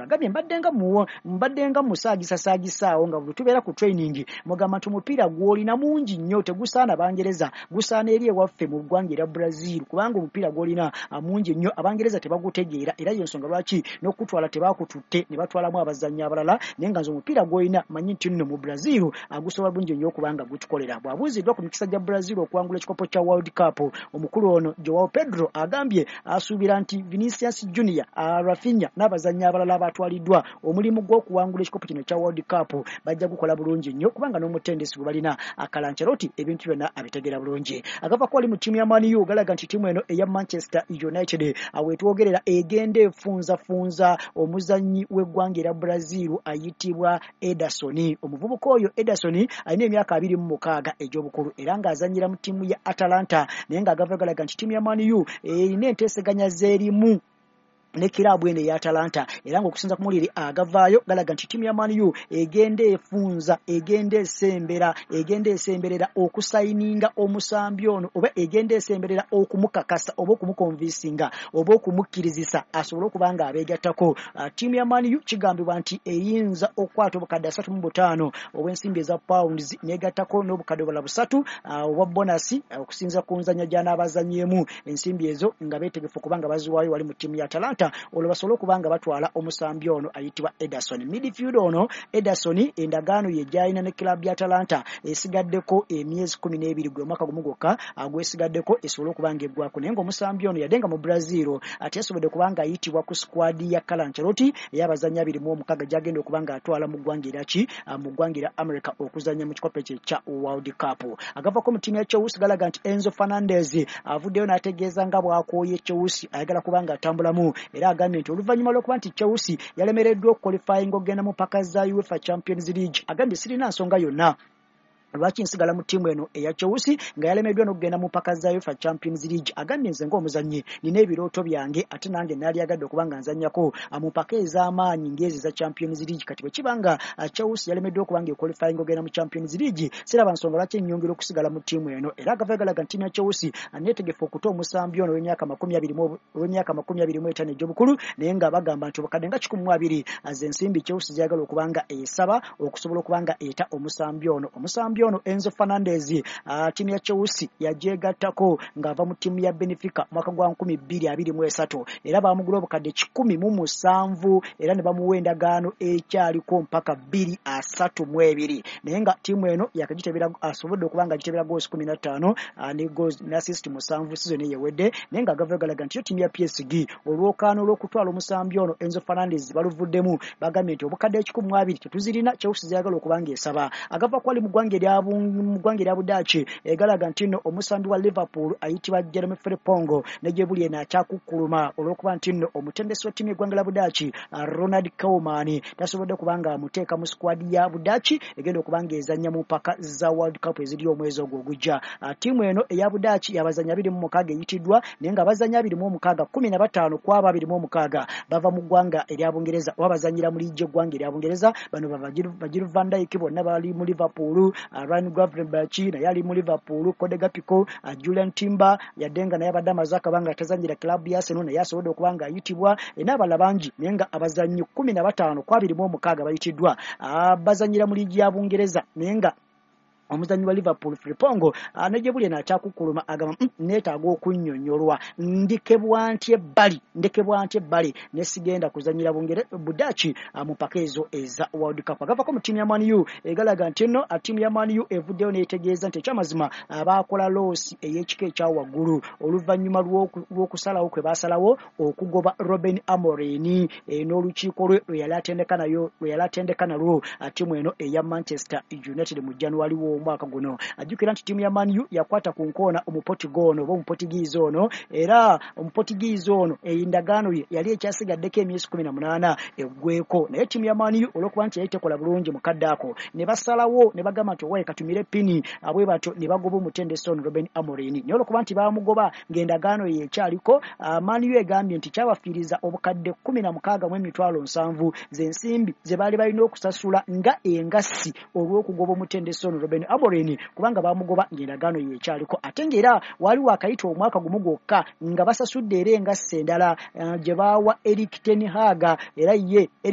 Agambye mbadde nga musaagisasaagisa nga bwe tubeera ku training mugamba nti omupiira gw'olina mungi nnyo, tegusaana Bangereza, gusaana eri ewaffe mu ggwanga erya Brazil, kubanga omupiira gw'olina mungi nnyo, Abangereza tebagutegeera, era y'ensonga lwaki n'okutwala tebakututte ne batwalamu abazannyi abalala, naye nga nze omupiira gw'olina manyi nti nno mu Brazil agusobola bulungi nnyo okubanga gutukolera. Bw'abuuziddwa ku mikisa gya Brazil okuwangula ekikopo kya World Cup, omukulu ono Joao Pedro agambye asuubira nti Vinicius Junior, Raphinha n'abazannyi abalala abatwaliddwa omulimu gw'okuwangula ekikopo kino kya World Cup bajja gukola bulungi nnyo, kubanga n'omutendesi gwe balina Carlo Ancelotti ebintu byonna abitegeera bulungi. Agava ko wali mu ttiimu ya Man U galaga nti ttiimu eno eya Manchester United awetwogerera egenda efunzafunza omuzannyi w'eggwanga erya Brazil ayitibwa Ederson. Omuvubuka oyo Ederson alina emyaka 26 egy'obukulu era ng'azannyira mu ttiimu ya Atalanta, naye ng'agava galaga nti ttiimu ya Man U erina enteeseganya z'erimu ne kiraabu eno eya Atalanta, era ng'okusinza ku mawulire agavaayo galaga nti ttiimu ya Man U egenda efunza, egenda esembera, egenda esemberera okusayininga omusambi ono, oba egenda esemberera okumukakasa oba okumukonvinsinga oba okumukkirizisa asobole okuba nga abeegattako. Ttiimu ya Man U kigambibwa nti eyinza okukwata obukadde 35 obw'ensimbi eza pounds n'egattako n'obukadde obulala 3 obwa bonus okusinza ku nzannya gy'anaabazannyemu, ensimbi ezo nga beetegefu kubanga baziwaayo wali mu ttiimu ya Atalanta, olwo basobole okuba nga batwala omusambi ono ayitibwa Ederson. Midfield ono Ederson endagaano ye gy'alina ne club ya Atalanta esigaddeko emyezi 12, gwe mwaka gumu gwokka gwesigaddeko esobole okuba nga eggwako, naye ng'omusambi ono yadde nga mu Brazil ate yasobodde okuba nga ayitibwa ku squad ya Carlo Ancelotti ey'abazannyi 26 gy'agenda okuba nga atwala mu ggwanga eraki mu ggwanga erya America okuzannya mu kikopo ekyo ekya World Cup. Agavako mu ttiimu ya Chelsea galaga nti Enzo Fernandez avuddeyo n'ategeeza nga bw'akooye Chelsea, ayagala kuba nga atambulamu, era agambye nti oluvannyuma lw'okuba nti Chelsea yalemereddwa okuqualifyinga okugenda mu mpaka za UEFA Champions League, agambye sirina nsonga yonna lwaki nsigala mu ttiimu eno eya Chelsea nga yalemeddwa n'okugenda mu mpaka za UEFA Champions League. Agambye nze ng'omuzannyi nina ebirooto byange, ate nange naalyagadde okuba nga nzannyako mu mpaka ez'amaanyi ng'ezo eza Champions League. Kati bwe kiba nga Chelsea yalemeddwa okuba nga equalifying ogenda mu Champions League, siraba nsonga lwaki ennyongera okusigala mu ttiimu eno. Era agava galaga nti ttiimu ya Chelsea neetegefu okuta omusambi ono ow'emyaka 25 egy'obukulu, naye nga bagamba nti obukadde nga 120 z'ensimbi Chelsea gyagala okuba nga esaba okusobola okuba nga eta omusambi ono. Omusambi ono Enzo Fernandez ttiimu ya Chelsea yagyegattako ng'ava mu ttiimu ya Benfica mwaka gwa 2023, era baamugula obukadde 107 era ne bamuwa endagaano ekyaliko mpaka 2032, naye nga ttiimu eno yakagitebera asobodde okuba nga agitebera goals 15 ne goals ne assist 7 season eyewedde. Naye nga agava galaga nti yo ttiimu ya PSG olwokaano olw'okutwala omusambi ono Enzo Fernandez baluvuddemu, bagambye nti obukadde 120 tetuzirina Chelsea zeyagala okuba nga esaba. Agava kwali mu ggwanga erya Budaaki egalaga nti nno omusambi wa Liverpool ayitibwa Jeremy Frimpong ne gye buli eno akyakukkuluma olw'okuba nti nno omutendesi wa ttiimu y'eggwanga la Budaaki Ronald Koeman tasobodde kuba nga amuteeka mu squad ya Budaaki egenda okuba nga ezannya mu mpaka za World Cup eziri omwezi ogwo ogujja. Ttiimu eno eya Budaaki y'abazannyi 26 eyitiddwa, naye nga abazannyi 26, 15 ku abo 26 bava mu ggwanga erya Bungereza oba bazannyira mu liigi eggwanga erya Bungereza. Bano ba Virgil van Dijk bonna bali mu Liverpool, Ryan Gravenberch naye ali mu Liverpool, Cody Gakpo, Julian Timber yadde nga naye abadde amaze akabanga tazannyira club ya Arsenal naye asobodde okuba nga ayitibwa, n'abalala bangi, naye nga abazannyi 15 ku 26 bayitiddwa bazannyira mu liigi ya Bungereza. Naye nga omuzannyi wa Liverpool Frimpong ne gye buli eno akyakukkuluma, agamba neetaaga okunnyonnyolwa, ndekebwa ntya ebbali, ndekebwa ntya ebbali ne sigenda kuzannyira Budaaki mu mpaka ezo eza World Cup. Agavako mu ttiimu ya Man U egalaga nti nno ttiimu ya Man U evuddeyo n'etegeeza nti ekyamazima baakola loss ey'ekika ekya waggulu oluvannyuma lw'okusalawo kwe baasalawo okugoba Ruben Amorim n'olukiiko lwe lwe yali atendeka nayo, lwe yali atendeka nalwo ttiimu eno eya Manchester United mu January w'omwaka guno. Ajjukira nti ttiimu ya Man U yakwata ku nkoona Omupotigo ono oba Omupotigiizi ono, era Omupotigiizi ono endagaano ye yali ekyasigaddeko emyezi 18 eggweko, naye ttiimu ya Man U olw'okuba nti yali tekola bulungi mu kadde ako ne basalawo ne bagamba nti owaye katumire pini bwe batyo ne bagoba omutendesi ono Ruben Amorim. Naye olw'okuba nti baamugoba ng'endagaano ye ekyaliko, Man U egambye nti kyabafiiriza obukadde 16 mu emitwalo 70 z'ensimbi ze baali balina okusasula nga engassi olw'okugoba omutendesi ono Ruben. Ruben Amorim, kubanga bamugoba ng'endagaano ye ekyaliko, ate ng'era waali waakayita omwaka gumu gwokka nga basasudde era engasse endala gye baawa Erik ten Hag. Era ye